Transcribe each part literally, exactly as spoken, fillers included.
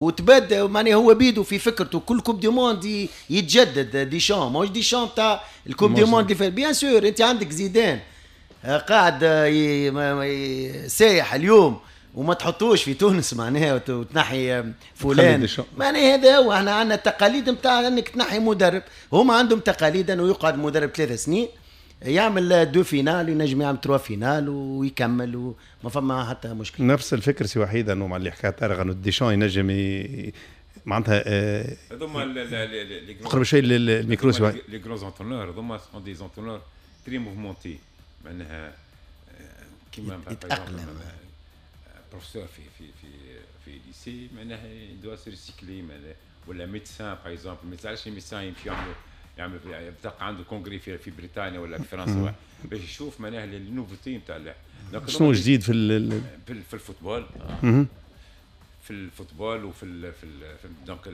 وتبدا معناها هو بيدو في فكرته كل coupe du monde يتجدد ديشان، ماهوش ديشان تاع ال coupe du monde اللي فات. bien sûr انت عندك زيدان قاعد سايح اليوم وما تحطوش في تونس معناها وتنحي فلان، معناها هذا هو. احنا عندنا التقاليد نتاع انك تنحي مدرب، هما عندهم تقاليد انه يقعد مدرب ثلاث سنين يعمل deux finales، ينجم يعمل trois finales ويكمل وما فما حتى مشكله. نفس الفكر سي وحيد، انه مع اللي حكى طارق انه ديشان ينجم ي... معناتها هذوما اقرب شوي للميكرو سي وحيد. les grands entraîneurs هذوما sont des entraîneurs très mouvementés، معناها كيما يتاقلم بروفيسور في في في في lycée معناها doit se recycler، ولا médecin par exemple. ما علاش ال médecin يمشي يعملوا يعمل تلقى عنده congrès في في بريطانيا ولا في فرنسا باش يشوف معناها les nouveautés نتاع شنو جديد في ال في ال football، في ال football وفي ال في ال donc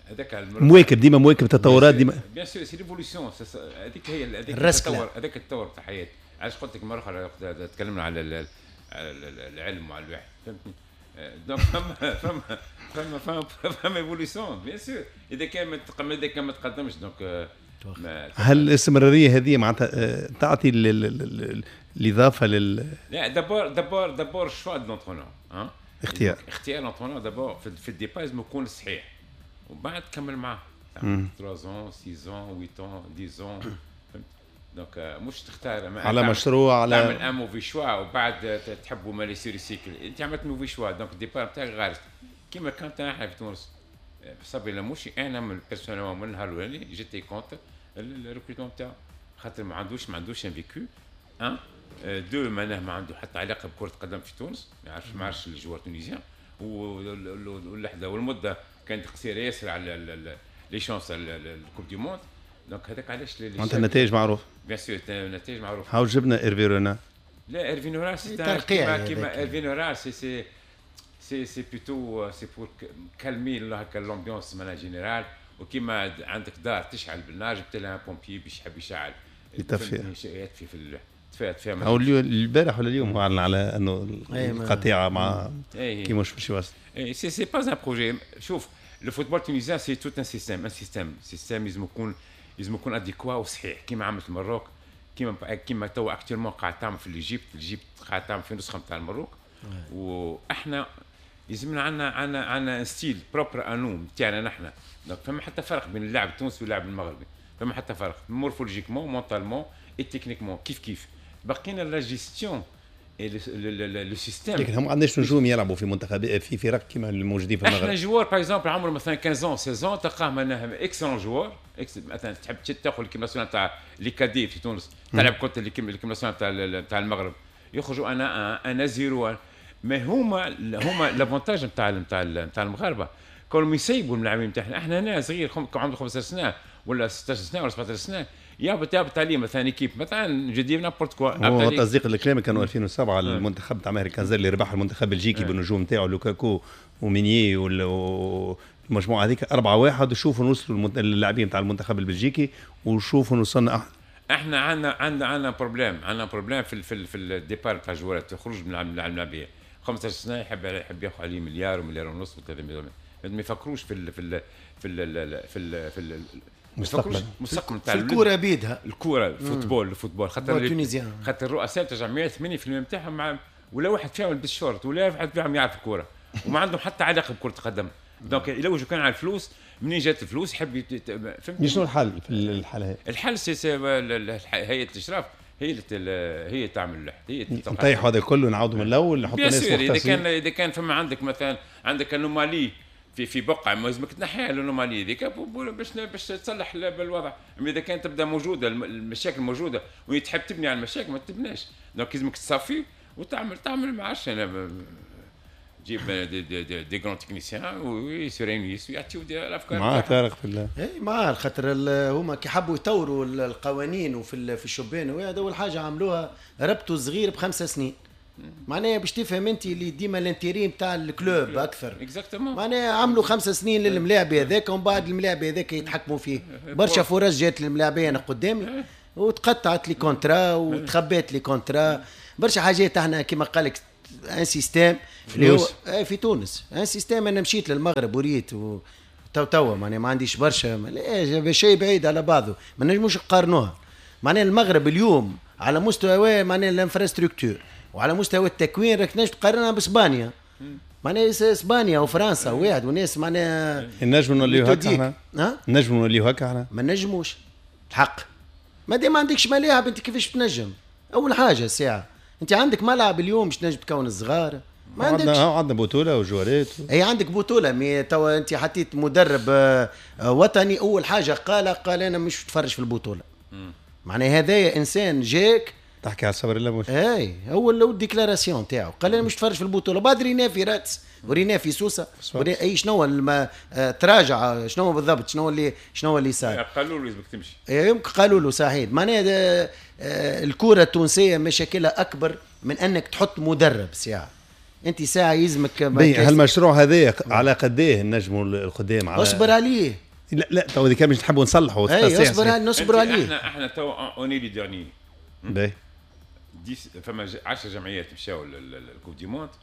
هذاك مواكب ديما، مواكب التطورات ديما. bien sûr c'est l'évolution، هذيك هي هذيك التطور، هذاك التطور تاع الحياه. علاش قلت لك مرة اخرى تكلمنا على العلم وعلى الواحد، فهمتني؟ donc فما فما فما فما فما évolution bien sûr. اذا كان ما اذا كان ما تقدمش donc. هل الاستمرارية هذه معناتها تعطي الاضافة لل لا d'abord d'abord d'abord choix de l'entraîneur، اختيار اختيار l'entraîneur d'abord في ال départ لازم يكون صحيح وبعد تكمل معاه ثلاثة ans ستة ans ثمانية ans عشرة ans، donc مش تختار على مشروع على تعمل un mauvais choix وبعد تحبوا ما se recycle. انت عملت mauvais choix donc ال départ نتاعك غالط. كيما كانت احنا في تونس صبري لموشي، انا من personnellement من النهار الاولاني j'étais contre ال recrutement نتاعو، خاطر ما عندوش ما عندوش un vécu un deux، معناه ما عنده حتى علاقة بكره قدم في تونس، ما يعرفش ما يعرفش les joueurs tunisiens، واللحظة والمدة كانت قصيرة ياسر على les chances ال coupe du monde. donc هذاك علاش معناتها النتائج معروف. bien sûr النتائج معروف. هاو جبنا ايرفي رونا. لا ايرفي رونا c'est كيما كيما ايرفي رونا c'est c'est c'est c'est plutôt c'est pour calmer هكا l'ambiance معناها générale. وكيما عندك دار تشعل بالنار، جبت لها pompier باش يحب يشعل يطفي يطفي في تفاهت فيها. او البارح ولا اليوم هو اعلن على انه القطيعة مع كي مش باش يواصل. c'est c'est pas un projet. شوف le football tunisien c'est tout un système، un système système لازم يكون لازم يكون adéquat وصحيح كيما عملت المروك، كيما كيما توا actuellement قاعد تعمل في l'Égypte، l'Égypte قاعد تعمل في نسخه نتاع المروك. واحنا لازمنا عندنا عندنا عندنا style propre à nous نتاعنا نحن. donc فما حتى فرق بين اللاعب التونسي واللاعب المغربي، فما حتى فرق morphologiquement، mentalement et techniquement كيف كيف. بقينا la gestion le système. لكن هم ما عندناش نجوم يلعبوا في منتخب في فرق كيما الموجودين في المغرب. احنا joueur par exemple عمره مثلا خمستاش ستاش تلقاه معناها excellent joueur. مثلا تحب تاخذ l'équipe nationale تاع les cadets في تونس تلعب contre l'équipe nationale تاع تاع المغرب يخرجوا un un zéro. ما هما هما l'avantage نتاع نتاع نتاع المغاربة كانوا يسيبوا الملاعبين نتاعنا. احنا هنا صغير عنده خمستاش سنة ولا ستاش سنة ولا سبعتاش سنة يهبط يهبط عليه مثلا équipe مثلا je dis n'importe quoi. هو تصديق الكلام كانوا ألفين وسبعة المنتخب تاع ماهر كنزاري اللي ربح المنتخب البلجيكي بالنجوم نتاعو لوكاكو ومينيي والمجموعة هذيك أربعة واحد، وشوفوا نوصلوا اللاعبين تاع المنتخب البلجيكي وشوفوا وصلنا. احنا عندنا عندنا عندنا problème، عندنا problème في في في ال départ تاع الجوارات، تخرج من اللاعبيه خمستاش سنة يحب يحب ياخذ عليه مليار ومليار ونص وثلاثة مليار، ما يفكروش في ال في ال في ال في ال في ال المستقبل. المستقبل تاع الكورة بيدها. الكوره، ال football ال football خاطر خاطر الرؤساء تاع الجمعيات ثمانين في المية نتاعهم مع ولا واحد فيهم يلبس شورت ولا واحد فيهم يعرف الكورة وما عندهم حتى علاقة بكره القدم. donc يلوجوا كان على الفلوس، منين جات الفلوس يحب. فهمت شنو الحل في الحالة هذه؟ الحل c'est c'est هيئة الاشراف هي اللي هي تعمل هي نطيحوا هذا كله نعاودوا من الاول. نحطوا ناس اذا كان اذا كان فما عندك مثلا عندك anomalie في في بقعه، لازمك تنحيها l'anomalie هذيك باش باش تصلح بالوضع. اما اذا كانت تبدا موجودة المشاكل موجودة وتحب تبني على المشاكل ما تبناش. donc لازمك تصفي وتعمل تعمل ما عرفتش انا تجيب des des des, des grands techniciens و se réunissent ويعطيو الافكار. مع طارق في الله. اي مع خاطر هما كي حبوا يطوروا القوانين وفي في الشبان وهذا اول حاجة عملوها ربطوا صغير بخمسة سنين، معناها باش تفهم انت اللي ديما l'intérêt نتاع ال club اكثر. exactement. معناها عملوا خمسة سنين للملاعب هذاك ومن بعد الملاعب هذاك يتحكموا فيه. برشا فرص جات للملاعبيه انا قدامي وتقطعت les contrats وتخبات les contrats، برشا حاجات. احنا كما قال لك un système اللي هو في تونس un système. انا مشيت للمغرب وريت و... تو توا معناها ما عنديش برشا شيء بعيد على بعضه، ما نجموش نقارنوها. معناها المغرب اليوم على مستوى معناها l'infrastructure وعلى مستوى التكوين راك تنجم تقارنها باسبانيا، معناها اسبانيا وفرنسا واحد وناس معناها نجموا نوليو هكا احنا، نجموا نوليو هكا احنا ما نجموش الحق. ما دام ما عندكش ملاعب انت كيفاش تنجم؟ اول حاجة الساعة انت عندك ملعب اليوم باش تنجم تكون الصغار، ما عندكش. عندنا بطوله وجوارات، اي عندك بطوله، mais توا انت حطيت مدرب وطني اول حاجة قال قال انا مش نتفرج في البطولة. معناها هذايا انسان جاك تحكي على صبري لموشي، اي هو ال déclaration تاعو قال انا مش نتفرج في البطولة. بعد رينا في راتس ورينا في سوسة ورينا اي شنو الما تراجع شنو بالضبط، شنو اللي شنو اللي صار. قالوا له لازمك تمشي، يمكن قالوا له صحيح. معناها الكره التونسية مشاكلها اكبر من انك تحط مدرب ساعة. انت ساعة يلزمك هالمشروع هذا على قديه نجموا القدام على اصبر عليه. لا لا تو اذا كان باش نحبوا نصلحوا اي اصبر نصبر عليه. احنا احنا تو on est les derniers. باهي فما عشر جمعيات مشاو لل coupe du monde،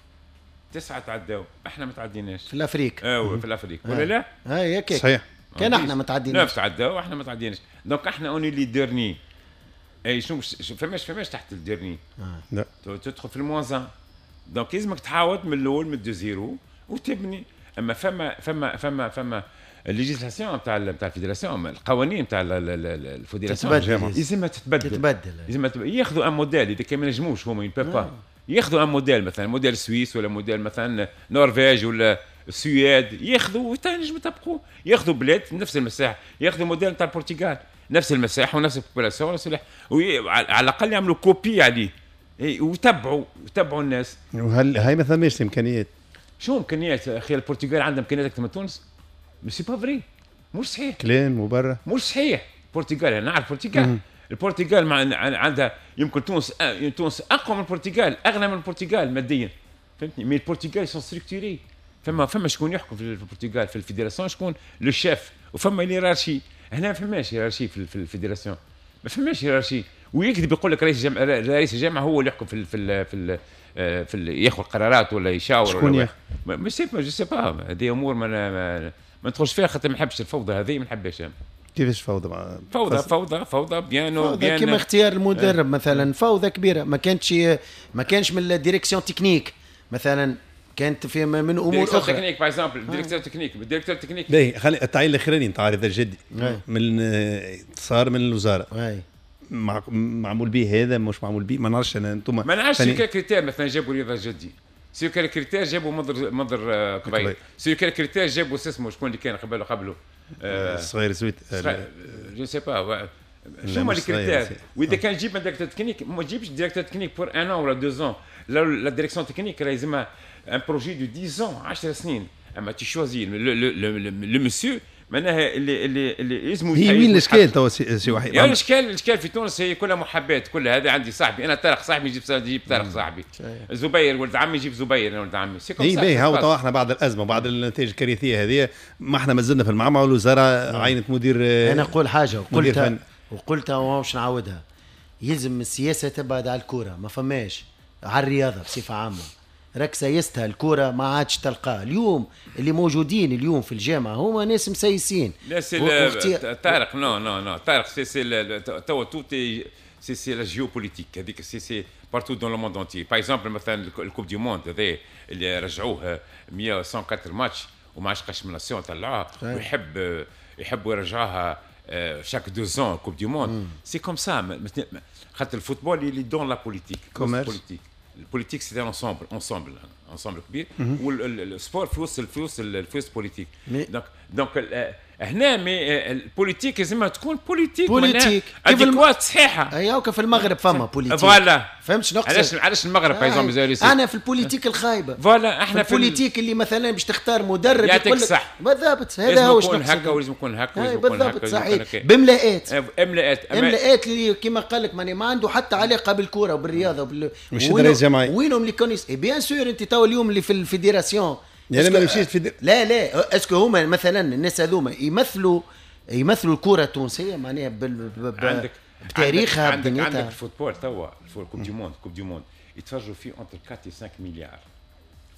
تسعة تعداو، احنا ما تعديناش في l'Afrique. اه في l'Afrique ولا لا؟ اي هكاك صحيح، كان احنا ما تعديناش. neuf تعداو احنا ما تعديناش، donc احنا on est les derniers. اي شنو فماش فماش تحت ال dernier. لا تدخل في ال moins un، donc لازمك تعاود من الاول من de zéro وتبني. اما فما فما فما فما ال législation تاع تاع ال fédération، القوانين تاع ال fédération لازمها تتبدل تتبدل لازم ياخذوا un modèle. اذا كان ما نجموش هما ils peuvent pas ياخذوا un modèle، مثلا modèle suisse ولا موديل مثلا نرويج ولا السويد، ياخذوا وتنجموا يطبقوا. ياخذوا بلاد نفس المساحة، ياخذوا موديل تاع البرتغال نفس المساحة ونفس ال population ونفس، على الاقل يعملوا copie عليه وتبعوا وتبعوا الناس. وهل هاي ما ثماش امكانيات؟ شو امكانيات اخي؟ البرتغال عندها امكانيات اكثر من تونس؟ mais c'est pas vrai، مش صحيح كلام مبرر، مش صحيح. البرتغال انا نعرف البرتغال، البرتغال مع عندها يمكن تونس تونس اقوى من البرتغال، اغنى من البرتغال ماديا، فهمتني؟ mais البرتغال sont structurés، فما فما شكون يحكم في البرتغال في ال fédération، شكون le chef، وفما hiérarchie. هنا ما فماش hiérarchie في ال fédération، ما فماش hiérarchie. ويكذب يقول لك رئيس الجامعة، رئيس الجامعة هو اللي يحكم في ال في ال في ال في ال ياخذ قرارات ولا يشاور. شكون ياخذ؟ mais sais pas je sais pas، هذه امور ما ما ندخلش فيها خاطر ما نحبش الفوضى هذه، ما نحبهاش. كيفاش فوضى؟ فوضى فوضى فوضى bien فوضى كيما اختيار المدرب مثلا، فوضى كبيرة. ما كانتش ما كانش من ال direction technique مثلا، كانت في من امور اخرى. technique par exemple، directeur technique، directeur technique. باهي خلي التعيين الاخراني نتاع رضا الجدي من صار من الوزارة. اي معمول به هذا مش معمول به، ما نعرفش انا انتم ما نعرفش quels critères. مثلا جابوا رضا الجدي، sur quels critères جابوا منظر منظر كبير، sur quels critères جابوا اسمه شكون اللي كان قبله قبله صغير سويت je sais pas شنو هما les critères. واذا كان تجيب directeur technique، ما تجيبش directeur technique pour un an ولا deux ans. la direction technique راه لازمها un projet de dix ans، عشر سنين. اما tu choisis le monsieur معناها اللي اللي اللي اسمه. هي وين الاشكال توا سي وحيد؟ يعني الاشكال الاشكال في تونس هي كلها محابات، كلها هذا عندي صاحبي انا طارق صاحبي يجيب يجيب طارق صاحبي، زبير ولد عمي يجيب زبير انا ولد عمي. اي باهي هاو توا احنا بعد الازمة بعد النتائج الكارثية هذه ما احنا مازلنا في المعمعة، والوزارة عينت مدير. انا نقول حاجة وقلتها وقلتها ومش نعاودها، يلزم السياسة تبعد على الكورة، ما فماش على الرياضة بصفة عامة. راك سيستها الكرة ما عادش تلقاه. اليوم اللي موجودين اليوم في الجامعة هما ناس مسيسين. لا c'est طارق non non non طارق c'est c'est توا tout c'est c'est la géopolitique هذيك، c'est c'est partout dans le monde entier. par exemple مثلا ال coupe du monde هذا اللي رجعوه مية وأربعة ماتش وما عادش قش من nation طلعوها، ويحب يحبوا يرجعوها chaque deux ans coupe du monde. c'est comme ça خاطر ال football اللي dans la politique politique ال politique c'est un ensemble ensemble ensemble كبير، وال sport في وسط في وسط في وسط politique. donc donc هنا mais ال politique لازمها تكون politique politique adéquate صحيحه. ايوا في المغرب فما politique voilà، فهمت شنو نقصد؟ علاش علاش المغرب par exemple انا في ال politique الخايبة voilà، احنا في ال politique اللي مثلا باش تختار مدرب يعطيك صح بالضبط، هذا هو شنو نقصد. هكا ولازم يكون هكا ولازم يكون هكا بالضبط صحيح، بملاءات املاءات املاءات اللي كيما قال لك ما عنده حتى علاقة بالكورة وبالرياضه وبال مش رئيس جمعية وينهم les connaissances. bien sûr انت تو اليوم اللي في ال fédération يعني ما نمشيش في لا لا est-ce que هما مثلا الناس هذوما يمثلوا يمثلوا الكره التونسية معناها بال... ب... عندك بتاريخها عندك بدنيتها. عندك ال football توا ال coupe du monde، coupe du monde يتفرجوا فيه entre أربعة و خمسة مليار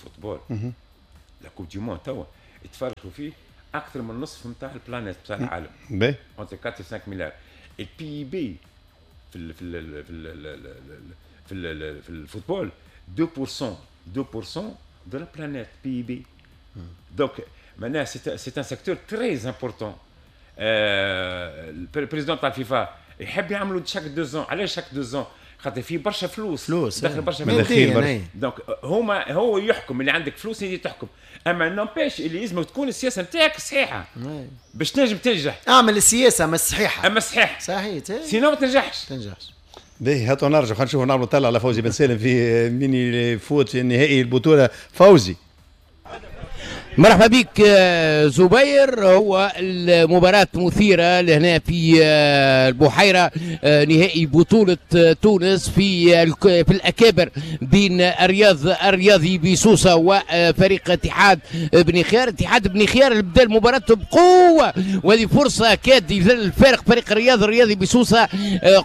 football. la coupe du monde توا يتفرجوا فيه اكثر من نصف نتاع ال planète نتاع العالم. باهي entre أربعة و خمسة مليار. ال PIB في ال في ال في ال في ال في ال football اثنين بالمية اثنين بالمية de la planète PIB. donc معناها c'est un secteur très important. ال président تاع الفيفا يحب يعملوا chaque deux ans. علاش chaque deux ans؟ خاطر فيه برشا فلوس فلوس داخل برشا فلوس. donc هما هو يحكم، اللي عندك فلوس اللي تحكم، اما n'empêche اللي لازم تكون السياسة نتاعك صحيحه باش تنجم تنجح. اعمل السياسة اما الصحيحة، اما الصحيح صحيح، sinon ما تنجحش. تنجحش. باهي هاتوا نرجع خلينا نشوفوا نعملوا طلع على فوزي بن سالم في mini-foot في نهائي البطولة. فوزي مرحبا بك زبير. هو المباراة مثيرة لهنا في البحيرة، نهائي بطولة تونس في في الأكابر بين الرياض الرياضي بسوسة وفريق اتحاد بني خيار. اتحاد بني خيار اللي بدا المباراة بقوة، وهذه فرصة كاد يذل الفارق فريق الرياض الرياضي بسوسة.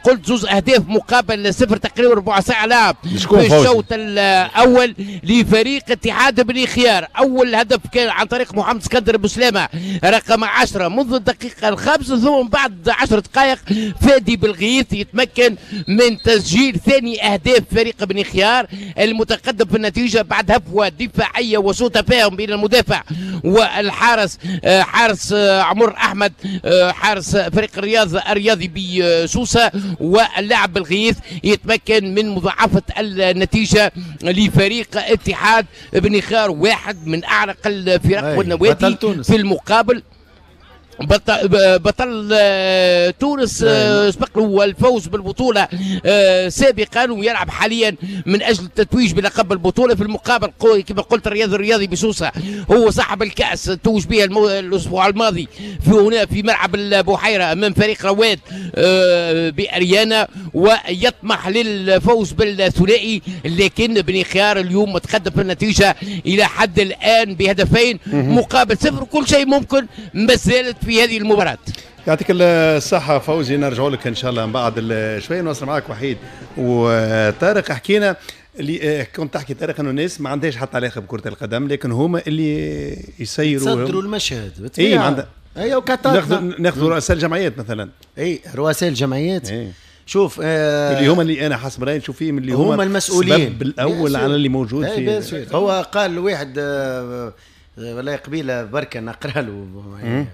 قلت زوز أهداف مقابل صفر تقريبا ربع ساعة لعب في الشوط الأول لفريق اتحاد بني خيار. أول هدف كان عن طريق محمد اسكندر بوسلامه رقم عشرة منذ الدقيقة الخامسة، ثم بعد عشر دقائق فادي بالغيث يتمكن من تسجيل ثاني أهداف فريق بني خيار المتقدم في النتيجة بعد هفوة دفاعية وسوء تفاهم بين المدافع والحارس، حارس عمر أحمد حارس فريق الرياض الرياضي بسوسة، واللاعب بالغيث يتمكن من مضاعفة النتيجة لفريق اتحاد بني خيار، واحد من أعرق الفرق والنوادي في المقابل. بطل, بطل تونس سبق له الفوز بالبطولة سابقا ويلعب حاليا من أجل التتويج بلقب البطولة. في المقابل كما قلت الرياض الرياضي بسوسة هو صاحب الكأس، توج بها الأسبوع الماضي في هنا في ملعب البحيرة أمام فريق رواد بأريانا، ويطمح للفوز بالثنائي، لكن بني خيار اليوم متقدم في النتيجة إلى حد الآن بهدفين مقابل صفر. كل شيء ممكن ما زالت في هذه المباراة. يعطيك الصحة فوزي، نرجع لك إن شاء الله من بعد شوية. نوصل معك وحيد وطارق. حكينا اللي كنت تحكي طارق أنه الناس ما عندهاش حتى علاقة بكرة القدم، لكن هما اللي يسيروا يصدروا المشهد. إيه ما عندها أيوة. ناخذ ناخذ رؤساء الجمعيات مثلا. إيه رؤساء الجمعيات. إيه. شوف آه اللي هما اللي أنا حسب رأيي نشوف فيهم اللي هما, هما المسؤولين السبب الأول على اللي موجود في. هو قال واحد آه والله قبيلة بركة نقرأ له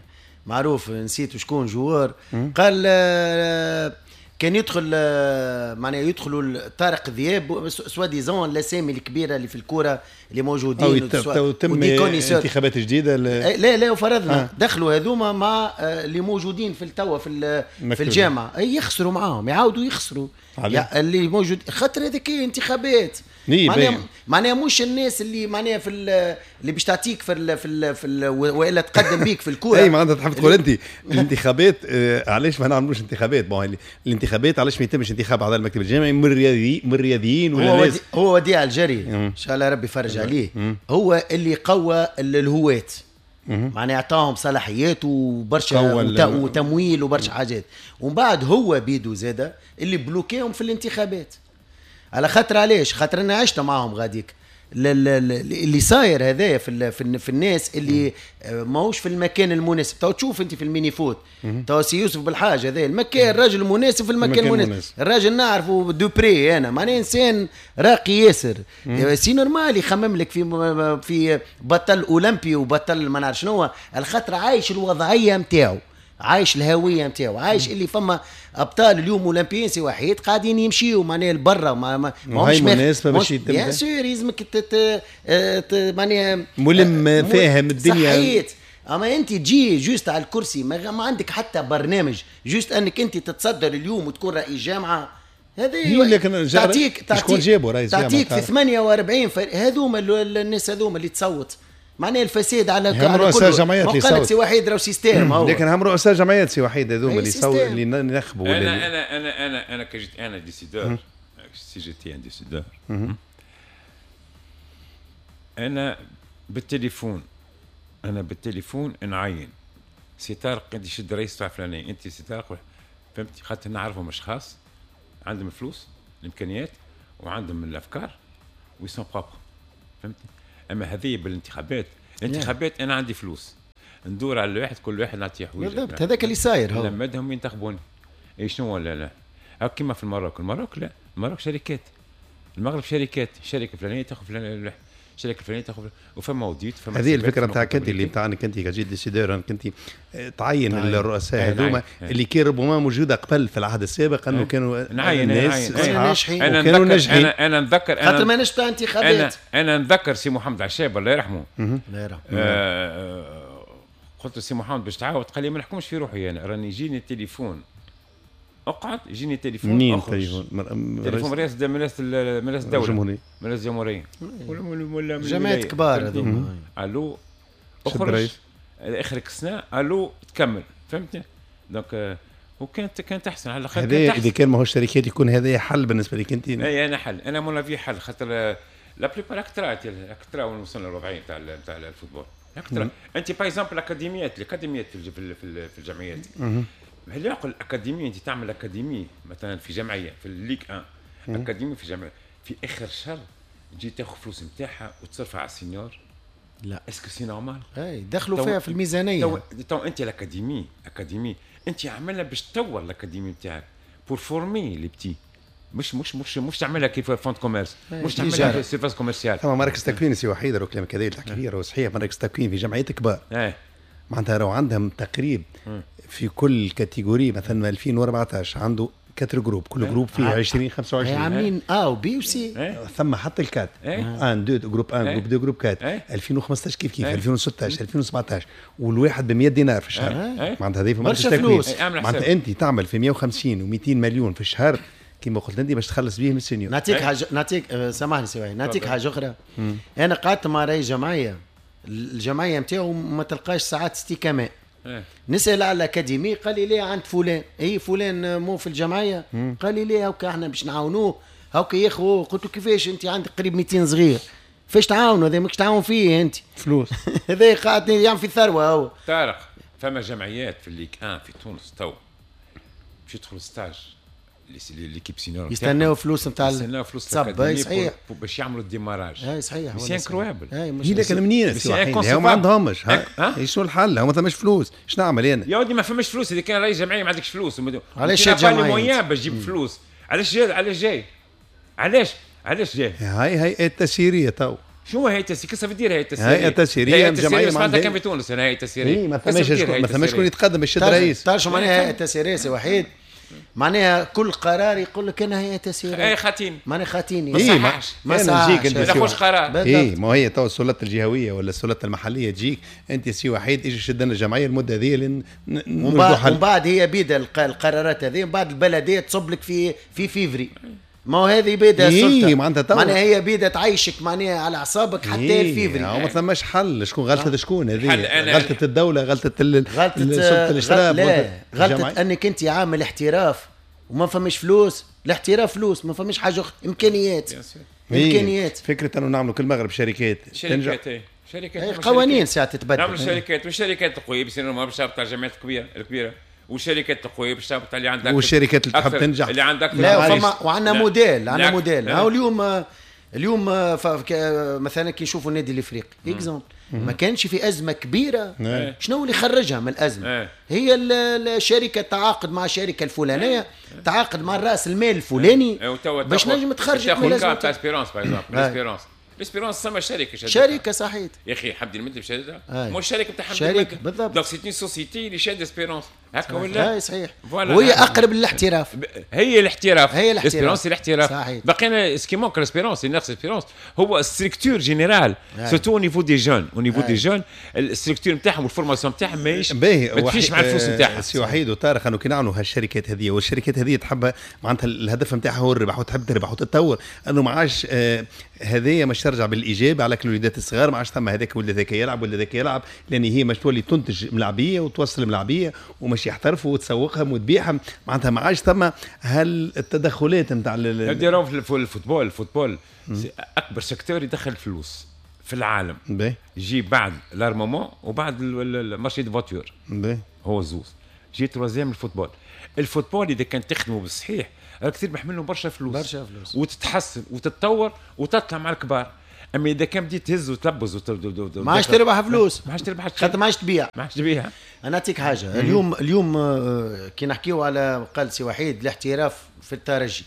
معروف نسيت شكون joueur، قال كان يدخل معناها يدخلوا طارق ذياب soi-disant الاسامي الكبيرة اللي في الكورة اللي موجودين او تم انتخابات جديدة ل... لا لا وفرضنا آه. دخلوا هذوما مع اللي موجودين في التوا في في الجامعة يخسروا معاهم، يعاودوا يخسروا اللي موجود، خاطر هذيك انتخابات معناها معناها مش الناس اللي معناها في اللي باش تعطيك في ال في ال في ال والا تقدم بيك في الكورة. اي معناتها تحب تقول انت الانتخابات آه علاش ما نعملوش انتخابات؟ bon الانتخابات علاش ما يتمش انتخاب اعضاء المكتب الجامعي من الرياضيين من الرياضيين ولا هو ناس؟ هو وديع الجري ان شاء الله ربي يفرج عليه، هو اللي قوى الهواة، معناها اعطاهم صلاحيات وبرشا وتمويل وبرشا حاجات، ومن بعد هو بيدو زاده اللي بلوكيهم في الانتخابات. على خاطر علاش؟ خاطر انا عشت معاهم غاديك اللي صاير هذايا في في, في الناس اللي ماهوش في المكان المناسب. تو تشوف انت في ال mini-foot تو سي يوسف بالحاج هذا المكان، الراجل المناسب في المكان المناسب، الراجل نعرفه de près انا، معناه انسان راقي ياسر، c'est normal يخمم لك في في بطل اولمبي وبطل ما نعرف شنو، الخاطر عايش الوضعية نتاعو، عايش الهوية نتاعو، عايش اللي فما ابطال اليوم اولمبيين سي وحيد قاعدين يمشيوا معناها لبرا، ما ما ماهوش مناسبة باش يتم bien sûr يلزمك معناها ملم فاهم الدنيا صحيت. اما انت تجي juste على الكرسي ما, ما عندك حتى برنامج، juste انك انت تتصدر اليوم وتكون رئيس جامعه، هذه تعطيك تعطيك جابوا رئيس جامعه تعطيك في ثمانية وأربعين هذوما الناس هذوما اللي تصوت، معناها الفساد على هم رؤساء جمعيات اللي صوت سي وحيد راهو système هو، لكن هم رؤساء جمعيات سي وحيد هذوما اللي صوت اللي نخبوا. انا انا انا انا انا كي جيت انا décideur، si j'étais un décideur، انا بالتليفون، انا بالتليفون نعين سي طارق انت شد رئيس تاع فلاني، انت سي طارق، فهمتي؟ خاطر نعرفهم اشخاص عندهم الفلوس الامكانيات وعندهم الافكار و ils sont propres، فهمتني؟ اما هذه بالانتخابات، الانتخابات انا عندي فلوس ندور على الواحد، كل واحد نعطيه حويجه. بالضبط، هذاك اللي صاير هو. لمدهم ينتخبوني. اي شنو ولا لا؟ هاك كيما في ال Maroc، ال Maroc لا، ال Maroc شركات، المغرب شركات، شركة فلانيه تاخذ فلان، الشركة الفلانية تاخذ، وفما audit، فما هذه الفكرة نتاعك انت اللي نتاع انك انت كجيت décideur، انك انت تعين الرؤساء هذوما اللي كان ربما موجودة قبل في العهد السابق، انه كانوا نعين الناس ناجحين، كانوا ناجحين. انا انا نتذكر، خاطر ماناش تاع انتخابات. انا انا نتذكر سي محمد عشاب الله يرحمه، الله يرحمه، آه قلت له سي محمد باش تعاود، قال لي ما نحكمش في روحي انا، راني يجيني التليفون اقعد، يجيني تليفون. منين تليفون؟ تليفون رئاسة رئاسة رئاسة الدولة، الجمهورية، رئاسة الجمهورية ولا ولا جماعات كبار هذوما. الو اخرج اخرك السنة، الو تكمل، فهمتني؟ donc وكانت كانت احسن على الاقل. هذا اذا كان ماهوش شركات يكون هذا حل بالنسبة لك انت؟ اي انا حل، انا mon avis حل، خاطر la plupart اكثر اكثر وين وصلنا الوضعية تاع تاع ال football اكثر. انت par exemple الاكاديميات، الاكاديميات في في الجمعيات، هل يعقل الاكاديمية انت تعمل اكاديمية مثلا في جمعية في ال Ligue واحد، اكاديمية في جمعية في اخر شهر تجي تاخذ فلوس نتاعها وتصرفها على ال senior؟ لا، est-ce que c'est normal؟ اي دخلوا فيها في الميزانية. تو, تو انت ال académie، académie انت عاملها باش تطور ال académie نتاعك pour former les petits، مش مش مش مش تعملها كيف fonds de commerce، مش تعملها surface commerciale. ثم مراكز تكوين سي وحيد، راهو كلامك هذا اللي تحكي فيه راهو صحيح. مراكز تكوين في جمعيات كبار معناتها راهو عندهم تقريب في كل catégorie، مثلا ألفين وأربعطاش عنده quatre groupes، كل groupe فيه عشرين خمسة وعشرين، عاملين A و B و C، ثم حتى ال quatre واحد اثنين groupe واحد groupe اثنين groupe أربعة، ألفين وخمسطاش كيف كيف، ألفين وستطاش ألفين وسبعطاش، والواحد ب مية دينار في الشهر. معناتها هذه في مركز تكوين، معناتها انت تعمل في مية وخمسين ومئتين مليون في الشهر كما قلت انت باش تخلص بيه من ال senior. نعطيك حاجة، نعطيك سامحني سي، نعطيك حاجة اخرى. انا قعدت مع رئيس جمعية، الجمعية نتاعو ما تلقاش ساعات ستيكامات. نسال على ال académie، قال لي ليه عند فلان، اي فلان مو في الجمعية، قال لي ليه هاكا احنا باش نعاونوه هاكا ياخو. قلت له كيفاش انت عندك قريب مئتين صغير، فاش تعاونوا هذا؟ ماكش تعاون فيه انت فلوس. هذا قاعد يعمل في ثروة هو. طارق، فما جمعيات في ال Ligue واحد في تونس تو باش يدخلوا stage l'équipe senior يستناو فلوس نتاع يستناو فلوس صحيح باش يعملوا ال démarrage. اي صحيح، c'est incroyable. هي لكن منين هم ما عندهمش، شنو الحل؟ ما ثماش فلوس، شنو نعمل انا؟ يا ودي ما فماش فلوس، اذا كان رئيس جمعية ما عندكش فلوس، علاش جمعية باش تجيب فلوس؟ علاش جاي؟ علاش جاي؟ علاش علاش جاي؟ هاي هيئة تسييريه تو. شنو هيئة تسييريه؟ كيف دير هيئة تسييريه؟ هيئة تسييريه جمعية ما عندها كان في تونس انا هيئة تسييريه. ما ثماش ما ثماش شكون يتقدم باش يشد رئيس. تعرف شو معناها هيئة تسييريه سي وحيد؟ معناها كل قرار يقول لك انا هيئة تسييريه. اي خاتيني، معناها خاتيني. ما صححش، ما صححش، ما تاخذش قرار. اي ما هي تو السلطات الجهوية ولا السلطات المحلية تجيك انت سي وحيد اجي شد لنا الجمعية المدة هذه لين ومن بعد هي بيد القرارات هذه، من بعد البلدية تصب لك في في فيفري. ما هو هذه بيدها السلطة، إيه معناتها معناها هي بيدها تعيشك معناها على اعصابك حتى إيه الفيفري. ما ثماش حل. شكون غلطه؟ شكون هذه؟ غلطه الدولة، غلطه غلطه سلطة الاشراف، لا غلطه انك انت عامل احتراف وما فماش فلوس. الاحتراف فلوس، ما فماش حاجة اخرى، امكانيات. امكانيات. فكرة انه نعملوا كل المغرب شركات شركات شركات قوانين ساعة تتبدل، نعملوا شركات، والشركات القوية بس ما باش تهبط على الجامعات الكبيرة الكبيرة والشركات القوية باش تهبط اللي عندك، والشركات اللي تحب تنجح اللي عندك. لا فما وعندنا موديل، عندنا موديل. هاو اليوم اليوم مثلا كي نشوفوا النادي الافريقي exemple، ما كانش في ازمة كبيرة. شنو اللي خرجها من الازمة؟ هي الشركة تعاقد مع الشركة الفلانية، تعاقد مع راس المال الفلاني باش نجم تخرجك من الازمة. تاع Espérance par exemple، Espérance L'Espérance سما شركة شادتها. شركة صحيح يا اخي، حمدي المدب شادتها، مش شركة بتاع حمدي شركة بالضبط. donc c'est une société اللي شاد Espérance هكا ولا؟ اي صحيح، وهي اقرب للاحتراف. هي الاحتراف، هي الاحتراف، Espérance الاحتراف. بقينا ce qui manque l'Espérance، نفس Espérance هو structure générale، surtout au niveau des jeunes، au niveau des jeunes ال structure نتاعهم وال formation نتاعهم ماهيش ما تمشيش مع الفلوس نتاعها. سي وحيد وطارق، انه كي نعملوا هالشركات هذه، والشركات هذه تحب معناتها الهدف نتاعها هو الربح وتحب تربح وتتطور، انه ما عادش هذايا مش ترجع بالايجاب على كل الوليدات الصغار، ما عادش ثم هذاك ولا ذاك يلعب ولا ذاك يلعب، لان هي مش تولي تنتج ملاعبيه وتوصل ملاعبيه ومش يحترفوا وتسوقهم وتبيعهم، معناتها ما عادش ثم هالتدخلات نتاع في ال football. ال football اكبر secteur يدخل فلوس في العالم، يجي بعد l'armement وبعد ال marché des voitures، هو زوز. جي troisième ال football. ال football اذا كان تخدمه بالصحيح راك تربح منه برشا فلوس برشا فلوس وتتحسن وتتطور وتطلع مع الكبار. اما اذا كان بديت تهز وتلبز وت... ما عادش تربح فلوس، ما عادش تربح، خاطر ما عادش تبيع، ما عادش تبيع. انا نعطيك حاجة اليوم، اليوم كي نحكيو على قال سي وحيد الاحتراف في الترجي،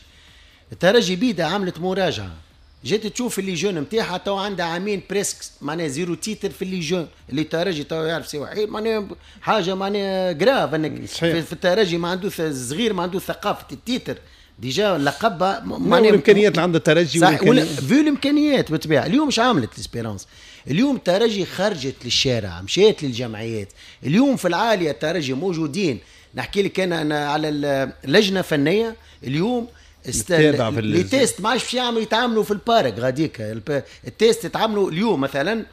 الترجي بيدا عملت مراجعه، جيت تشوف les jeunes نتاعها تو عندها عامين presque معناها zéro titre في les jeunes. اللي الترجي تو يعرف سي وحيد معناها حاجة معناها grave انك في, في الترجي ما عنده صغير ما عنده ثقافة ال titre déjà لقب معناها الامكانيات اللي عند الترجي vu الامكانيات بالطبيعة. اليوم مش عملت l'Espérance، اليوم الترجي خرجت للشارع، مشيت للجمعيات، اليوم في العالية الترجي موجودين. نحكي لك انا انا على اللجنة الفنية اليوم است... les tests ما عادش باش يعملوا يتعاملوا في ال parc غاديك، ال test يتعاملوا اليوم مثلا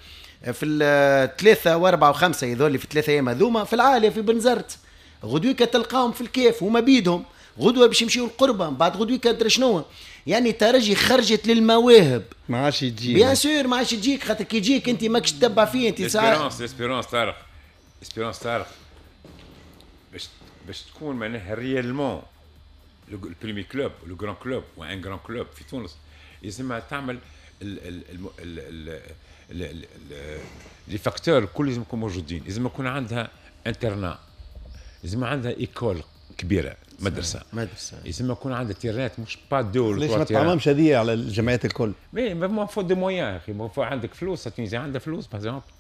في الثلاثة واربعة وخمسة يذولي في الثلاثة ايام هذوما في العالية في بنزرت، غدويك تلقاهم في الكيف هما بيدهم، غدوه باش يمشيو القربة، بعد غدوه كادر شنو. يعني الترجي خرجت للمواهب ما عادش تجيك، bien sûr ما عادش تجيك، خاطر كي يجيك انت ماكش تتبع فيه انت. Espérance Espérance طارق، Espérance طارق باش باش تكون معناها réellement ال premier club le grand club ou un grand club في تونس، لازم تعمل ال ال ال les facteurs الكل لازم يكونوا موجودين، لازم يكون عندها internat، لازم عندها école كبيرة، مدرسه مدرسه، لازم يكون عندها terrain ات مش pas deux. ليش ما تعممش هذه على الجمعيات الكل؟ mais ما faut des moyens اخي، ما faut عندك فلوس. Tunisien عندها فلوس par exemple،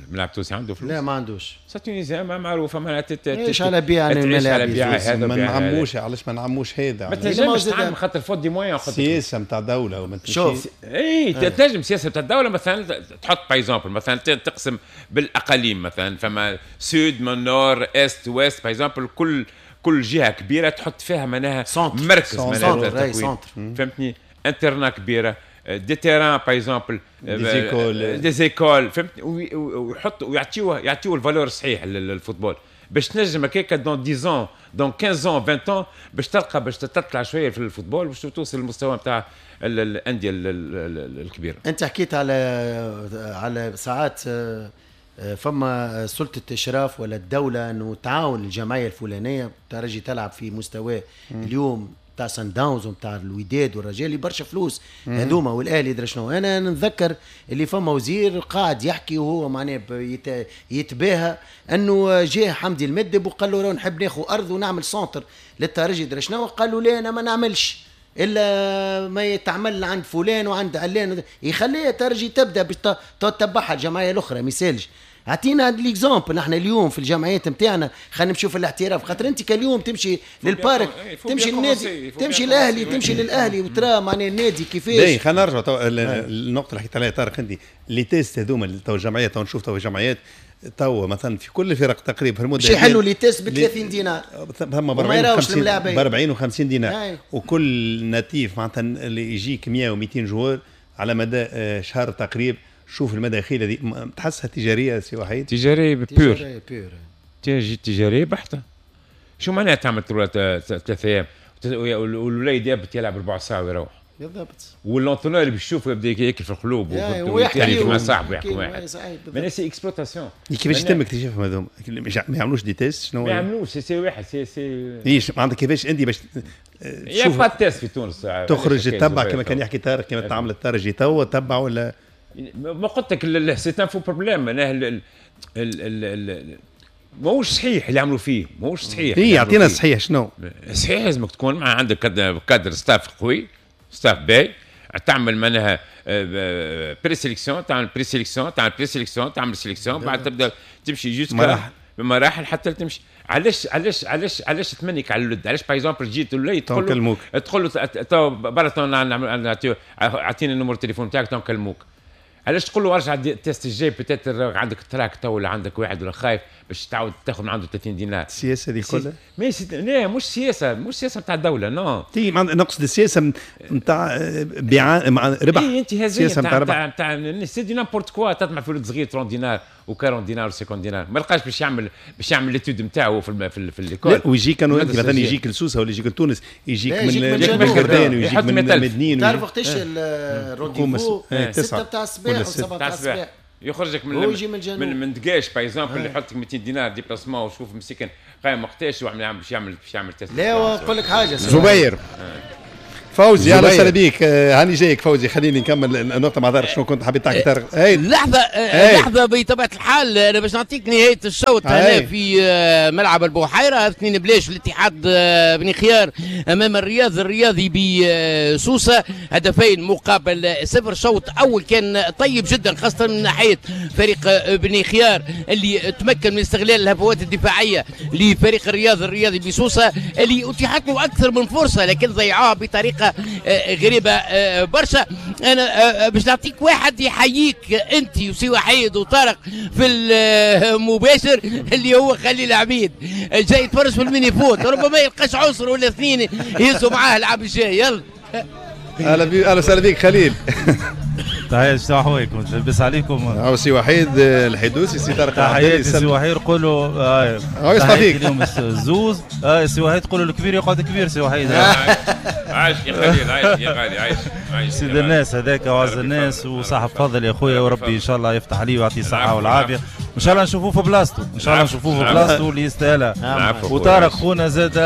الملاعب التونسي عنده فلوس؟ لا ما عندوش. Tunisien معروفة معناتها تعيش على بيع الملاعب، ما نعموش. علاش ما نعموش هذا؟ ما تنجمش تعمم خاطر faute des moyens، سياسة نتاع دولة وما شوف. اي تنجم سياسة نتاع الدولة مثلا تحط par exemple مثلا تقسم بالاقاليم، مثلا فما sud من nord est ouest par exemple، كل كل جهة كبيرة تحط فيها معناها مركز معناها تكوين، فهمتني؟ internat كبيرة، des terrains par exemple، des écoles des écoles، فهمتني؟ ويحط ويعطيوه يعطيوه ال valeur الصحيح لل football باش تنجم هكاك dans dix dans quinze عشرين ans باش تلقى باش تطلع شوية في ال football باش توصل للمستوى نتاع الاندية الكبيرة. انت حكيت على على ساعات فما سلطة اشراف ولا الدولة انه تعاون الجمعية الفلانية، الترجي تلعب في مستوى اليوم تاع سان داونز وتاع الوداد والرجال برشا فلوس هذوما والاهلي درا شنو. انا نتذكر اللي فما وزير قاعد يحكي وهو معناه يتباهى انه جاه حمدي المدب وقال له راه نحب ناخذ ارض ونعمل centre للترجي درا شنو، قال له لا انا ما نعملش الا ما يتعمل عند فلان وعند علان، يخليها الترجي تبدا باش تتبعها الجمعية الاخرى ما يسالش. اعطينا l'exemple نحن اليوم في الجمعيات نتاعنا، خلينا نمشيو في الاحتراف، خاطر انت كاليوم تمشي لل parc، تمشي للنادي، تمشي للاهلي، تمشي للاهلي وترى معناها النادي كيفاش. باهي خلينا نرجعوا تو النقطة اللي حكيت عليها طارق، انت les tests هذوما تو الجمعيات، تو نشوف تو الجمعيات تو مثلا في كل الفرق تقريبا في المدة باش يحلوا les tests ب ثلاثين دينار، ثم ب أربعين وخمسين دينار، وكل نتيف معناتها اللي يجيك مية ومئتين joueur على مدى شهر تقريبا. شوف المداخيل هذه تحسها تجارية سي وحيد؟ تجارية pure، تجارية بحته. شو معناها تعمل ثلاث ايام والوليد يبت يلعب ربع ساعة ويروح؟ بالضبط. وال l'entraîneur اللي باش يشوفه يبدا ياكل في القلوب ويحكي مع صاحبه ويحكي واحد. معناها c'est exploitation. كيفاش يتم اكتشافهم هذوما؟ ما يعملوش des tests؟ شنو ما يعملوش؟ c'est c'est واحد c'est c'est ايش معناتها كيفاش انت باش تشوف؟ y a pas test في تونس تخرج تتبع كما كان يحكي طارق، كما تعمل الترجي توا تبع ولا ما قلت لك c'est un faux problème. معناها ال ال ماهوش صحيح اللي عملوا فيه، ماهوش صحيح. اي يعطينا الصحيح شنو؟ صحيح لازمك تكون مع عندك cadre staff قوي، staff باهي، تعمل معناها présélection، تعمل présélection، تعمل présélection، تعمل sélection، بعد تبدا تمشي jusqu'à مراحل مراحل حتى تمشي. علاش علاش علاش علاش تمنيك على الولد؟ علاش par exemple جيت الولد تقول له تقول له تو برا اعطيني ال numéro التليفون تاعك تو نكلموك. علاش تقول له ارجع ال test الجاي peut-être عندك trac تو ولا عندك واحد ولا خايف باش تعاود تاخذ من عنده ثلاثين دينار. السياسة هذه كلها mais لا مش سياسة، مش سياسة نتاع الدولة non. تي نقصد السياسة نتاع بيع مع ربح. اي انت هذه نتاع نتاع نتاع c'est du n'importe quoi. تطمع في ولد صغير ثلاثين دينار وأربعين دينار وخمسين دينار ما لقاش باش يعمل باش يعمل l'étude نتاعو في في, في l'école. ويجي كانوا مثلا يجيك لسوسه ولا يجيك لتونس، يجيك من القردان ويجيك من مدنين. تعرف وقتاش ال rendez-vous؟ ستة تاع الصباح وسبعة تاع الصباح. يخرجك من هو يجي من الجنوب من, من دقاش par exemple اللي يحط لك ميتين دينار déplacement وشوف مسكين قايم وقتاش وعمل باش يعمل باش يعمل test. لا ونقول لك حاجة زبير فوزي اهلا وسهلا بيك. هاني جايك فوزي، خليني نكمل النقطة مع طارق. شنو كنت حبيت تحكي طارق؟ لحظة لحظة بطبيعة الحال انا باش نعطيك نهاية الشوط هنا في ملعب البحيرة، اثنين بلاش الاتحاد بني خيار امام الرياض الرياضي بسوسه، هدفين مقابل صفر. شوط اول كان طيب جدا خاصة من ناحية فريق بني خيار اللي تمكن من استغلال الهفوات الدفاعية لفريق الرياض الرياضي بسوسه اللي اتيحت له اكثر من فرصة لكن ضيعوها بطريقة غريبة برشا. انا باش نعطيك واحد يحييك انت وسي وحيد وطارق في المباشر اللي هو خليل عبيد جاي يتفرج في ال mini-foot، ربما يلقاش عنصر ولا اثنين يهزوا معاه العام الجاي. يلا اهلا بيك، اهلا وسهلا بيك خليل. تحية شنو احوالكم؟ لاباس عليكم؟ هاو سي وحيد الحدوسي، سي طارق تحياتي سي وحيد، قولوا هاو يسمع فيك اليوم الزوز. سي وحيد قولوا الكبير يقعد كبير. سي وحيد عايش يا خليل، عايش يا غالي، عايش عايش سيد الناس هذاك وعز الناس وصاحب فضل يا خويا، وربي ان شاء الله يفتح عليه ويعطيه الصحة والعافية، وان شاء الله نشوفوه في بلاصته، ان شاء الله نشوفوه في بلاصته اللي يستاهلها. وطارق خونا زاد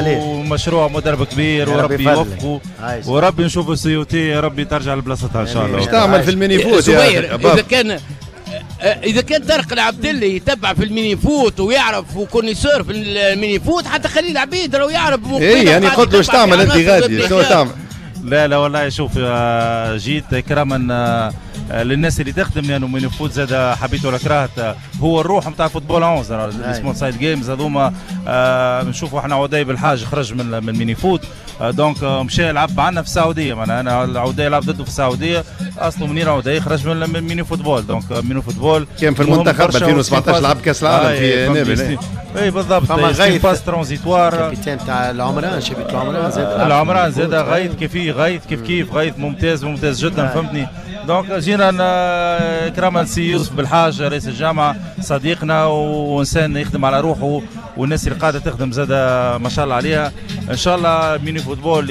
ومشروع مدرب كبير وربي يوفقه وربي نشوفوا سيوتي يا ربي ترجع لبلاصتها ان شاء الله. ايش تعمل في ال mini-foot يا اذا كان اذا كان طارق العبدلي يتبع في ال mini-foot ويعرف و connaisseur في ال mini-foot، حتى خليل عبيد راهو يعرف. اي يعني قلت له ايش تعمل انت غادي، شنو تعمل؟ لا لا والله شوف، جيت كرما للناس اللي تخدم لانه يعني mini-foot زاد حبيت ولا كرهت هو الروح نتاع football onze small side games هذوما. نشوفوا احنا عدي بالحاج خرج من من mini-foot، donc مشى لعب عندنا في السعودية، معناها انا عدي لعب ضده في السعودية، اصله منين عدي خرج من mini football. donc mini football كان في المنتخب ألفين وسبعطاش لعب كاس العالم في نابل. اي بالضبط، فما غيث phase transitoire capitaine تاع العمران، شبيبة العمران زاد العمران زاد غيث كيف غيث كيف كيف غيث ممتاز ممتاز جدا فهمتني. donc جينا كرما سي يوسف بالحاج رئيس الجامعة صديقنا وانسان يخدم على روحه والناس اللي قاعدة تخدم زاد ما شاء الله عليها. ان شاء الله mini football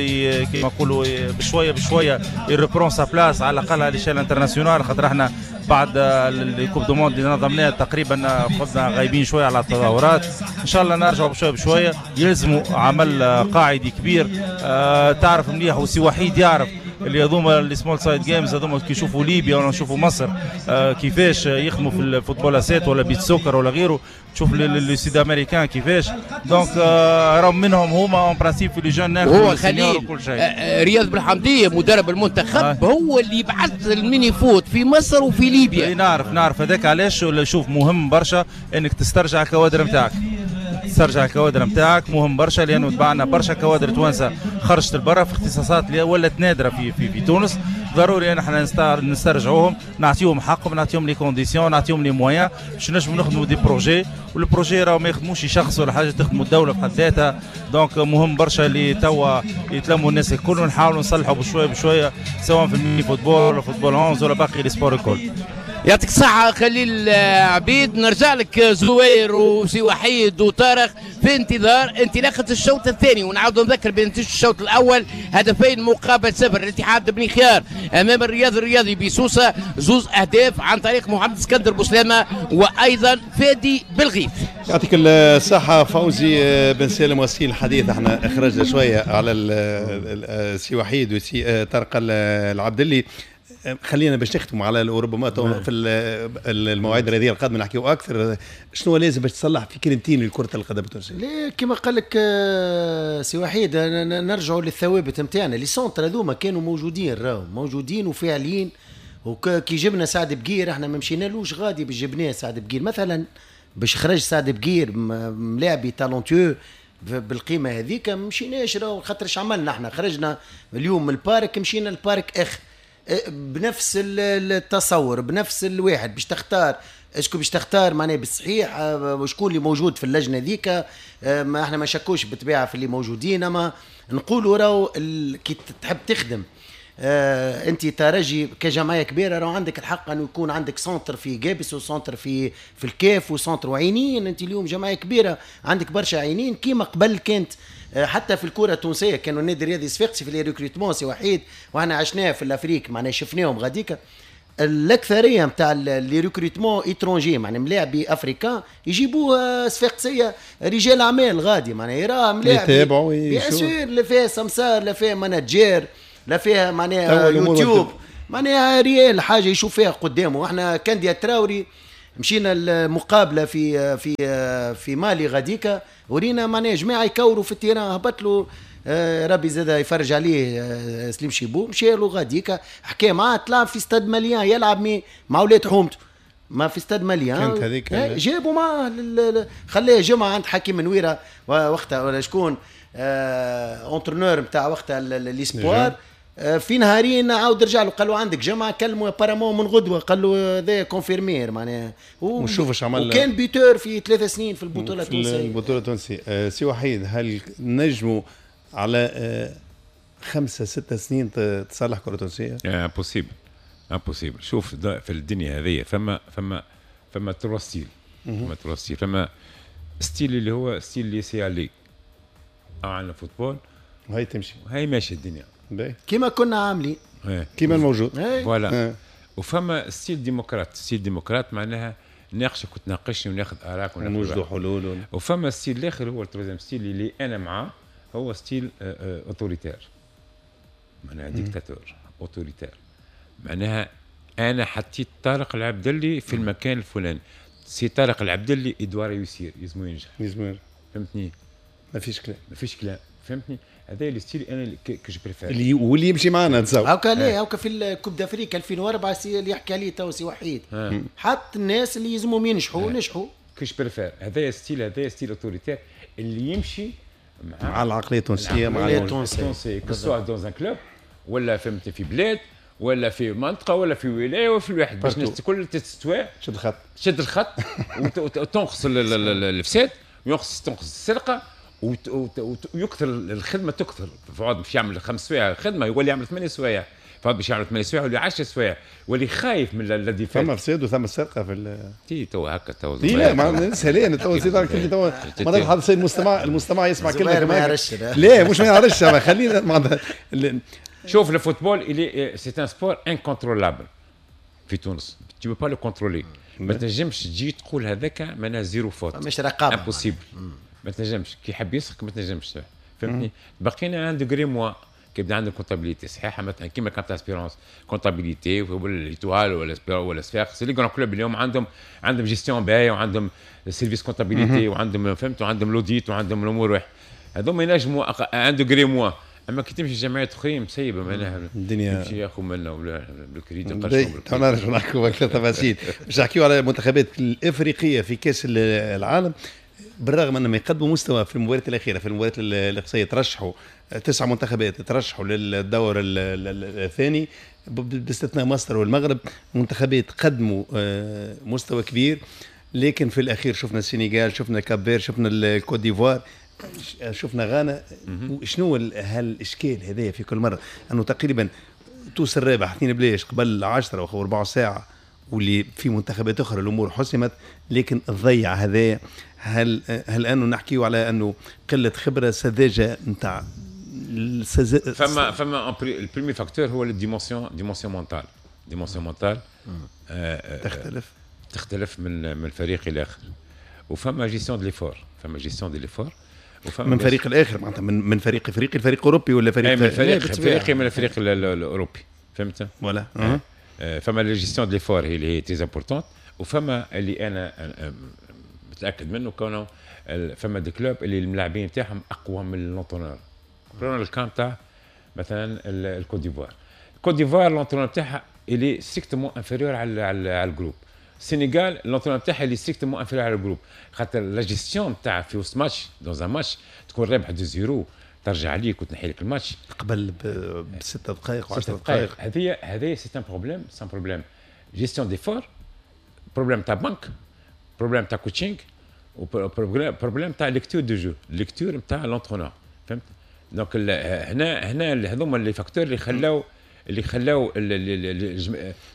كيما نقولوا بشوية بشوية ي reprend sa place على الاقل على l'échelle internationale، خاطر احنا بعد ال coupe du monde اللي نظمناها تقريبا كنا غايبين شوية على التظاهرات. ان شاء الله نرجعوا بشوية بشوية، يلزموا عمل قاعدي كبير. أه تعرف مليح وسي وحيد يعرف اللي هذوما les small side games هذوما كي يشوفوا ليبيا ولا نشوفوا مصر آه كيفاش يخدموا في ال football à sept ولا beach soccer ولا غيره، تشوف les Sud-Américains كيفاش. donc آه راهم منهم هما en principe في les jeunes هو خليل وكل شيء. آه رياض بالحمديه مدرب المنتخب آه. هو اللي بعث ال mini-foot في مصر وفي ليبيا. اي نعرف نعرف هذاك علاش. شوف مهم برشا انك تسترجع الكوادر نتاعك، تسترجع الكوادر نتاعك مهم برشا، لانه تبعنا برشا كوادر توانسة خرجت لبرا في اختصاصات اللي ولات نادرة في في في تونس. ضروري ان احنا نسترجعوهم، نعطيهم حقهم، نعطيهم les conditions، نعطيهم les moyens باش نجموا نخدموا des projets. وال projet راهو ما يخدموش شخص ولا حاجة، تخدموا الدولة بحد ذاتها. donc مهم برشا اللي توا يتلموا الناس الكل ونحاولوا نصلحوا بشوية بشوية سواء في ال mini football ولا football onze ولا باقي les sports الكل. يعطيك الصحة خليل عبيد. نرجع لك زهير وسي وحيد وطارق في انتظار انطلاقة الشوط الثاني، ونعاود نذكر بنتيجة الشوط الأول هدفين مقابل صفر الاتحاد بني خيار أمام الرياض الرياضي بسوسة، زوز أهداف عن طريق محمد اسكندر بوسلامة وأيضا فادي بالغيث. يعطيك الصحة فوزي بن سالم وسيل الحديث. احنا خرجنا شوية على سي وحيد وسي طارق العبدلي، خلينا باش نختموا على ربما في المواعيد الرياضية القادمة نحكيو اكثر. شنو لازم باش تصلح في كلمتين لكرة القدم التونسية؟ ليه كما قال لك سي وحيد نرجعوا للثوابت نتاعنا. les centres هذوما كانوا موجودين، راهو موجودين وفاعلين. وكي جبنا سعد بقير احنا ما مشينالوش غادي باش جبناه سعد بقير مثلا، باش خرج سعد بقير ملاعبي talentueux بالقيمة هذيك ما مشيناش راهو، خاطر اش عملنا احنا؟ خرجنا اليوم من ال parc مشينا لل parc اخر بنفس التصور بنفس الواحد باش تختار est-ce que باش تختار معناها بالصحيح وشكون اللي موجود في اللجنة ذيك. ما احنا ما شكوش بالطبيعة في اللي موجودين، اما نقولوا راهو كي تحب تخدم آه انت ترجي كجمعية كبيرة راهو عندك الحق انه يكون عندك centre في جابس و centre في في الكاف و centre وعينين. انت اليوم جمعية كبيرة عندك برشا عينين كيما قبل كانت حتى في الكره التونسية كانوا النادي الرياضي الصفاقسي في les recrutements سي وحيد، واحنا عشناه في l'Afrique معناها شفناهم غاديكا. الاكثرية نتاع les recrutements étrangers معناها ملاعبي africains يجيبوه صفاقسيه، رجال اعمال غادي معناها يراه ملاعبي يتابعوا bien sûr، لا فيها سمسار لا فيها manager لا فيها معناها يوتيوب، معناها réel حاجة يشوف فيها قدامه. احنا كانديا تراوري مشينا المقابلة في في في مالي غاديكا، ورينا معناها جماعة يكوروا في ال terrain، هبط له آه ربي زاد يفرج عليه آه سليم شيبو، مشى له غاديكا حكى معاه، طلع في Stade Malien يلعب مع ولاد حومته ما في Stade Malien، كانت هذيك جابوا معاه، خلاه جمعه عند حكيم نويره وقتها ولا شكون آه entraîneur نتاع وقتها les espoirs، في نهارين عاود رجع له قال له عندك جمعه، كلمة apparemment من غدوه قال له هذا confirmé معناها، ونشوف اش عمل، وكان buteur في ثلاث سنين في البطولة التونسية. البطولة التونسية. أه سي وحيد، هل نجموا على أه خمسة ستة سنين تصلح كره تونسية؟ impossible impossible. شوف في الدنيا هذه فما فما فما trois styles، فما trois styles، فما style اللي هو style laisser-aller على ال football وهي تمشي وهي ماشية الدنيا كيما كنا عاملين كيما الموجود voilà. وفما style démocrate، style démocrate معناها ناقشك وتناقشني وناخذ اراك ونوجدوا حلول. وفما style الاخر هو ال troisième style اللي انا معاه، هو style autoritaire، معناها dictateur autoritaire، معناها انا حطيت طارق العبدلي في المكان الفلاني، سي طارق العبدلي il doit réussir، يلزمو ينجح، يلزمو، فهمتني؟ ما فيش كلام، ما فيش كلام، فهمتني؟ هذا ال style انا que je préfère اللي واللي يمشي معنا نتصور. هاكا ليه هاكا في ال Coupe d'Afrique ألفين وأربعة سي اللي يحكي عليه تو سي وحيد، حط الناس اللي يلزمهم ينجحوا نجحوا. que je préfère هذا style، هذا style autoritaire اللي يمشي مع, مع العقلية التونسية، مع العقلية التونسية، que ce soit dans un club ولا فهمت في بلاد ولا في منطقة ولا في ولاية ولا في الواحد، باش الناس الكل تستوى شد الخط، شد الخط وتنقص الفساد وينقص تنقص السرقة ويكثر الخدمة، تكثر فعاد باش يعمل خمس سوايع خدمة يولي يعمل ثمانية سوايع، فعاد باش يعمل ثمانية سوايع يولي عشر سوايع، ولي خايف من la défaite. ثم فساد وثم سرقه في ال تي تو هكا تو لا ما سهلين تو زيد تو مرات حد المستمع المستمع يسمع كلمة ما يعرفش، لا مش ما يعرفش، خلينا شوف ال football اللي c'est un sport incontrôlable في تونس، tu peux pas le contrôler، ما تنجمش تجي تقول هذاك معناها zéro faute، مش رقابه، impossible، ما تنجمش كي يحب يسرق ما تنجمش، فهمتني؟ بقينا un degré moins كي يبدا عندك comptabilité صحيحه مثلا كيما كانت Espérance comptabilité ولا l'Étoile ولا ولا صفاقس، les grands clubs اليوم عندهم عندهم gestion باهيه وعندهم service comptabilité وعندهم فهمت وعندهم l'audit وعندهم الامور واحد، هذوما ينجموا un degré moins. اما كي تمشي جمعيات اخرين مسيبه معناها الدنيا يمشي ياخذ منا ولا بالكريدي. نرجعوا نحكوا اكثر تفاصيل باش نحكيو على المنتخبات الافريقية في كاس العالم، بالرغم انهم يقدموا مستوى في المباريات الاخيرة، في المباريات الاقصائية ترشحوا تسع منتخبات ترشحوا للدور الثاني باستثناء مصر والمغرب، منتخبات قدموا مستوى كبير، لكن في الاخير شفنا السنغال، شفنا Cap-Vert، شفنا الكوت ديفوار، شفنا غانا. شنو هالاشكال هذايا في كل مرة انه تقريبا توصل الرابح اثنين بلاش قبل عشرة او ربع ساعة، واللي في منتخبات اخرى الامور حسمت، لكن تضيع هذايا. هل هل انه نحكيو على انه قلة خبره سذاجة نتاع السز... فما فما ال premier facteur هو ال dimension dimension mentale، dimension mentale تختلف تختلف من من فريق الى اخر، وفما gestion de l'effort، فما gestion de l'effort من فريق الاخر معناتها من من فريق افريقي لفريق اوروبي ولا فريق من فريق افريقي من الفريق الاوروبي، فهمت؟ voilà. فما la gestion de l'effort هي اللي هي très importante، وفما اللي انا متاكد منه كونه فما des clubs اللي الملاعبين نتاعهم اقوى من l'entraîneur. prenons le cas تاع مثلا الكوت ديفوار، الكوت ديفوار l'entraîneur نتاعها اللي strictement inférieur على على ال groupe. السنغال l'entraîneur تاعها اللي strictement inférieur على ال groupe، خاطر la gestion تاع في وسط match dans un match تكون رابح deux zéro ترجع عليك وتنحي لك الماتش قبل بست دقائق وعشر دقائق. هذه هذه c'est un problème، c'est un problème gestion d'effort، problème تاع banc، problème تاع coaching، و problème تاع lecture de jeu، lecture نتاع l'entraîneur، فهمت؟ donc هنا هنا هذوما les facteurs اللي خلاو اللي خلاو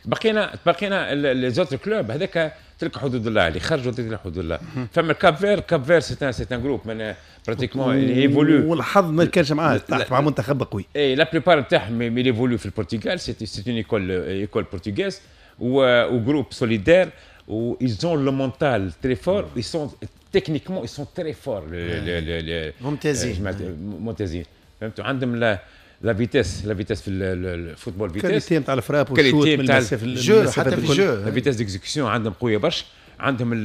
بقينا بقينا les autres clubs هذاك تلك حدود الله اللي خرجوا تلك حدود الله. فما Cap-Vert، Cap-Vert c'est un c'est un groupe من pratiquement اللي évolue، والحظ ما كانش معاه تحت مع منتخب قوي. اي la plupart نتاعهم اللي évoluent في البرتغال، c'est c'est une école école portugaise. و groupe solidaire و ils ont le mental très fort، ils sont techniquement ils sont très forts. ممتازين. ممتازين، فهمتوا؟ عندهم la la vitesse، la vitesse في ال football vitesse، qualité نتاع ال frappe وال shoot من المسافه. jeu، حتى في ال jeu. la vitesse d'exécution عندهم قوية برشا. عندهم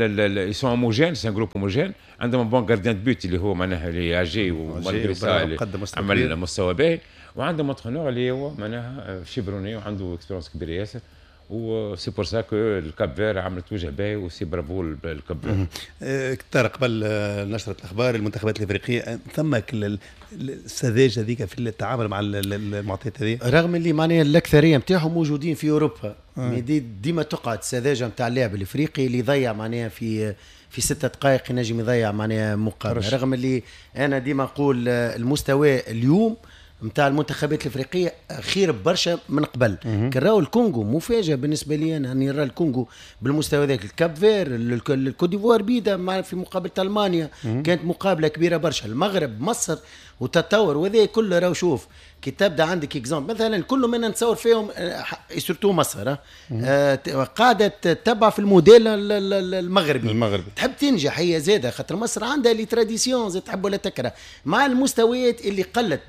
ils sont homogènes، c'est un groupe homogène. عندهم bon gardien de but اللي هو معناها اللي اجي و malgré ça عمل مستوى باهي، وعندهم entraîneur اللي هو معناها chevronné وعنده expérience كبيرة ياسر، و c'est pour ça que ال Cap-Vert عملت وجه باهي و c'est bravo ال Cap-Vert. طارق، قبل نشرة الاخبار، المنتخبات الافريقية ثم السذاجة هذيك في التعامل مع المعطيات هذه؟ رغم اللي معناها الاكثرية نتاعهم موجودين في اوروبا آه. دي ديما تقعد السذاجة نتاع اللاعب الافريقي اللي يضيع معناها في في ستة دقائق ينجم يضيع معناها مقابله، رغم اللي انا ديما نقول المستوى اليوم نتاع المنتخبات الافريقية خير برشا من قبل. كراو الكونغو مفاجاة بالنسبة لي انا، اني نرى الكونغو بالمستوى ذاك، ال Cap-Vert، ال Côte d'Ivoire بيدا في مقابله المانيا كانت مقابله كبيرة برشا، المغرب، مصر وتطور وهذا كله. راهو شوف كي تبدا عندك exemple مثلا كل من نتصور فيهم surtout مصر آه قاعدة تتبع في الموديل المغربي. المغربي تحب تنجح هي زاده، خاطر مصر عندها les traditions زاد، تحب ولا تكره، مع المستويات اللي قلت.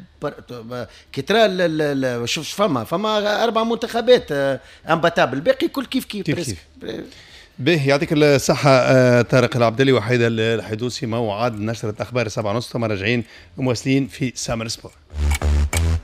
كي ترى شوف فما فما اربع منتخبات imbattables، الباقي كل كيف كيف. كيف كيف. به، يعطيك الصحة آه، طارق العبدلي وحيد الحيدوسي. موعد نشرة أخبار سبعة ونص، ثم راجعين مواصلين في سامر سبور.